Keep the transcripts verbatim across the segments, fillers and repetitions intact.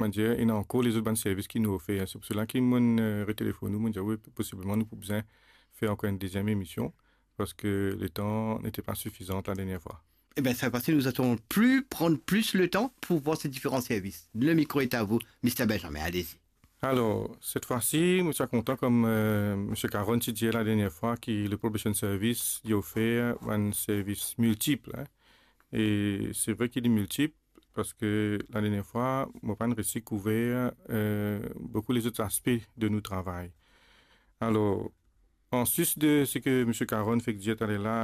kouma dir, ena ankor lezot bann servis ki nou ofer. Se pou sela ki mo'nn, eh, retelefonn ou, mo'nn dir, wi, posibleman nou pou bizin fer ankor enn deziem emision, parski letan nete pa sifizan la dernie fwa. Eh bien, cette fois-ci, nous allons plus prendre plus le temps pour voir ces différents services. Le micro est à vous, Mister Benjamin, allez-y. Alor, set fwa si, mo ti a kontan, kouma, eh, Misie Caron ti dir la dernie fwa, ki le probation service, li ofer bann servis miltip, hein. E se vre ki li miltip, parski la dernie fwa, mo pa'nn resi kouver, eh, boukou lezot aspe de nou travay. Alor, anplis de seki Misie Caron fek dir taler la,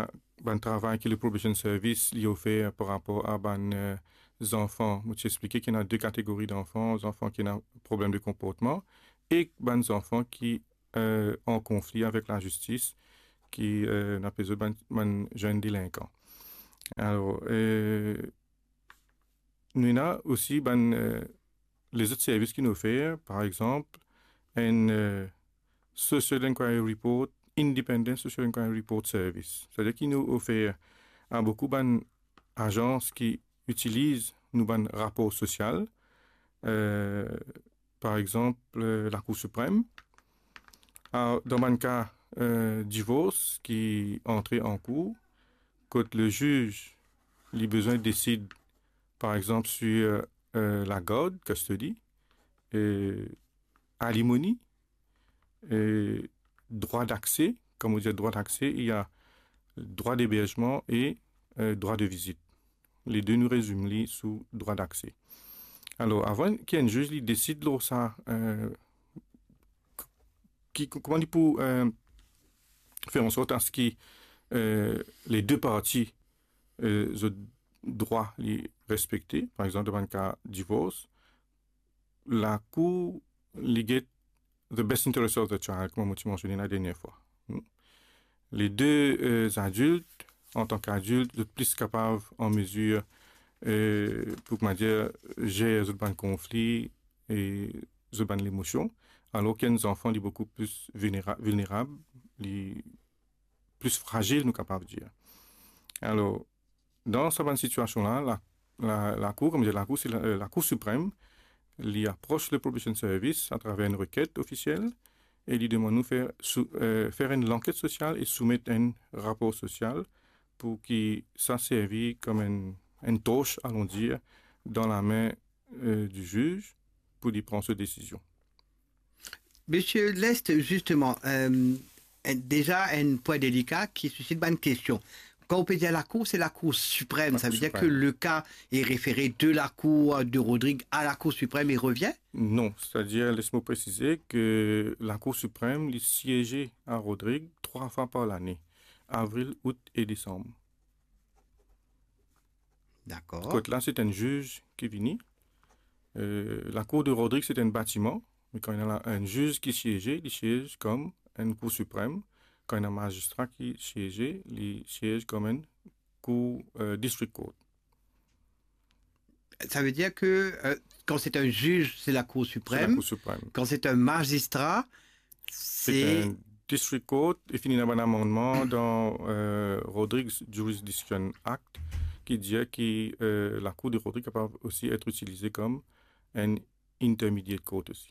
bann travay ki le probation service li ofer par rapor a bann, eh, zanfan, mo ti explike ki ena de kategori zanfan, zanfan ki ena problem de konportman, ek bann zanfan ki, eh, an konfli avek lazistis, ki, eh, nou apel zot bann, bann zenn delinkan. Alor, eh, nou ena osi bann, eh, lezot servis ki nou ofer, par exanp, enn, eh, Social Inquiry Report, Independent Social Inquiry Report Service. Setadir ki nou ofer a boukou bann azans ki itiliz nou bann rapor sosial, eh, par exanp, eh, Lakour Siprem. A, dan bann ka, eh, divors ki antre an kour, kot le ziz, li bizin desid, par exanp, sir, eh, lagard, custody, eh, alimoni, eh, drwa dakse, kan nou dir drwa dakse, ena drwa deberzman e, eh, drwa de vizit. Le de nou rezim li sou drwa dakse. Alor, avan ki enn ziz li desid lor sa, eh, ki, kouma li pou, eh, fer an sort aski, eh, le de parti, eh, zot drwa li respekte, par exanp, dan bann ka divors, Lakour, li get the best interest of the child, kouma mo ti mansione la dernie fwa. Hmm. Le de, eh, adilt, antan ki adilt, zot plis kapav, an mezir, eh, pou, kouma dir, zer zot bann konfli e zot bann lemosion, alor ki enn zanfan, li boukou plis vilnera-, vilnerab, li plis frazil, nou kapav dir. Alor, dan sa bann sitiasion la, la, la, Lakour, kouma dir, Lakour, se la, eh, Lakour Siprem, li apros le Probation Service atraver enn reket ofisiel e li demann nou fer sou-, eh, fer enn lanket sosial e soumet enn rapor sosial pou ki sa servi kom enn, enn tors, alon dir, dan lame, eh, di ziz pou li pran so desizion. Monsieur Lest, justement, euh, déjà un point délicat qui suscite bonne question. Quand on peut dire la Cour, c'est la Cour suprême. La Cour suprême. Ça veut dire que le cas est référé de la Cour de Rodrigue à la Cour suprême et revient ? Non, c'est-à-dire, laisse-moi préciser que la Cour suprême, li sieze a Rodrigue trwa fwa par lane, avril, out e desanm. Dakor. Kot la, se enn ziz ki vini. Euh, la Cour de Rodrigue, se enn batiman, me kan ena la, enn ziz ki sieze, li siez kom enn Cour Siprem. Kan ena mazistra ki sieze, li siez kom enn Cour, euh, District Court. Ça veut dire que, euh, quand c'est un juge, c'est la Cour suprême. C'est la Cour suprême. Quand c'est un magistrat, c'est... C'est un District Court, e fini ena bann amannman dan, euh, Rodrigues Jurisdiction Act, ki dir ki, euh, la Cour de Rodrigues kapav osi et itilize kom enn Intermediate Court osi.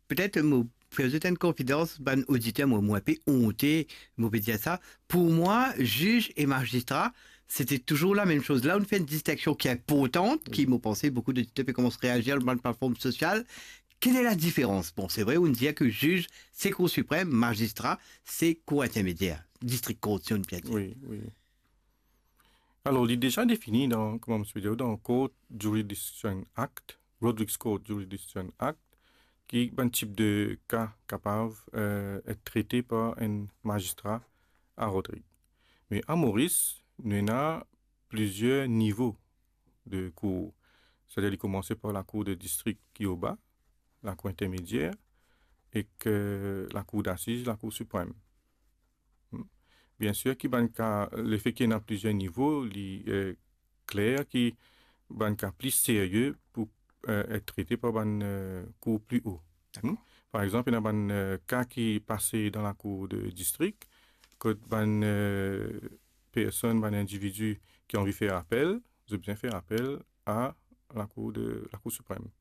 Petet mo fer zot enn konfidans, bann oditer, mo, mo inpe onte, mo pe dir sa. Pou mwa, ziz e mazistra, se ti touzour lamem soz. La, ou fer enn distinksion ki inportan, ki, mo panse, boukou oditer pe koumans reazir lor bann platform sosial. Quelle est la différence ? Bon, c'est vrai, ou dir ki ziz, se Cour Siprem, mazistra, se Cour Intermediaire, District Court, si on peut dire. Wi, wi. Alor, li deza defini dan, kouma mo ti pe dir, dan Court Jurisdiction Act, Rodrigues Court Jurisdiction Act, ki bann tip de ka kapav, euh, et trete par enn mazistra a Rodrigues. Me a Moris, nou ena plizier nivo de kour. Setadir, li koumanse par la Cour de District ki oba, la Cour Intermediaire, ek la Cour d'Assises, la Cour Suprême. Hmm. Biensir ki bann ka, lefe ki ena plizier nivo, li, euh, kler ki bann ka pli serye pou, euh, et trete par bann, euh, kour pli o. Dakor. Hmm. Par exanp, ena bann, euh, ka ki pase dan la Cour de District, kot bann, euh, personn, bann individi ki anvi fer apel, zot bizin fer apel a la Cour de, la Cour Suprême.